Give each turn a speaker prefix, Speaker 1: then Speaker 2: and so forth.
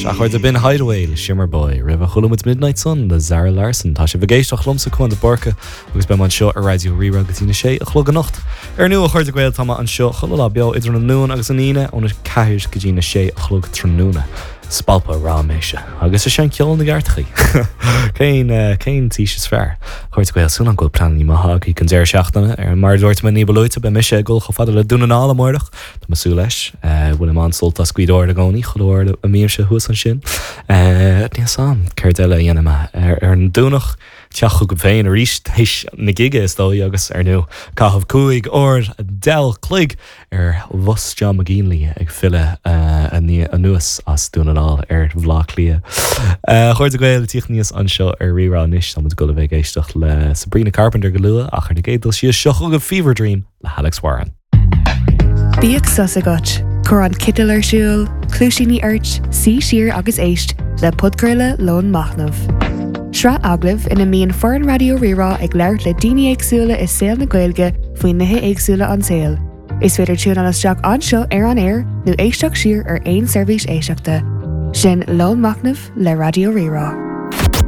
Speaker 1: A chairde, b'in Hideaway le Shimmerboy. Roimhe chuala muid Midnight Sun le Zara Larsson. Tá sibh ag éisteacht liomsa, Cuan de Búrca, agus beidh mé anseo ar Raidió Rí-Rá go dtí na sé a chlog anocht. Ar ndóigh, a chairde Gael, tá mé anseo chuile lá beo idir an Luan agus an Aoine óna 4 go dtí na sé a chlog tráthnóna. Spalpadh ráiméise. Agus is é an ceol na gceartachaí. Cén, cén t-aois is fearr? A chairde Gael, súil agam go bhfuil pleananna maithe agaibh don deireadh seachtaine. Mar a dúirt mé ní ba luaite, beidh mise ag dul chomh fada le Dún na nGall amárach. Tá mé ag súil leis. Bainim an-sult as Gaoth Dobhair i gcónaí, chuile uair a mbímse thuas ansin. Níl 'fhios a'm céard eile a dhéanfaidh mé ar an Domhnach. Teacht chugam féin arís théis na gige is dóigh agus, ar ndóigh, caitheamh 15 uair an chloig ar bhus John McGinley ag filleadh anuas as Dún na nGall ar Bhaile Átha Cliath. A chairde Gael, ag tíocht aníos anseo ar Rí-Rá anois, tá muid ag dul a bheith ag éisteacht le Sabrina Carpenter go luath ach ar na gcéad dul síos seo chugaibh Fever Dream le hAlex Warren.
Speaker 2: Bíodh sos agat, cuir an citeal ar siúl, cluaisíní ort, suigh siar agus éist le podchraoladh Lón Machnaimh. Sraith agallamh ina mbíonn foireann Raidió Rí-Rá ag labhairt le daoine éagsúla i saol na Gaeilge faoi nithe éagsúla an tsaoil. Is féidir tiúnáil isteach anseo ar an aer nó éisteacht siar ar aon seirbhís éisteachta. Sin Lón Machnaimh le Raidió Rí-Rá.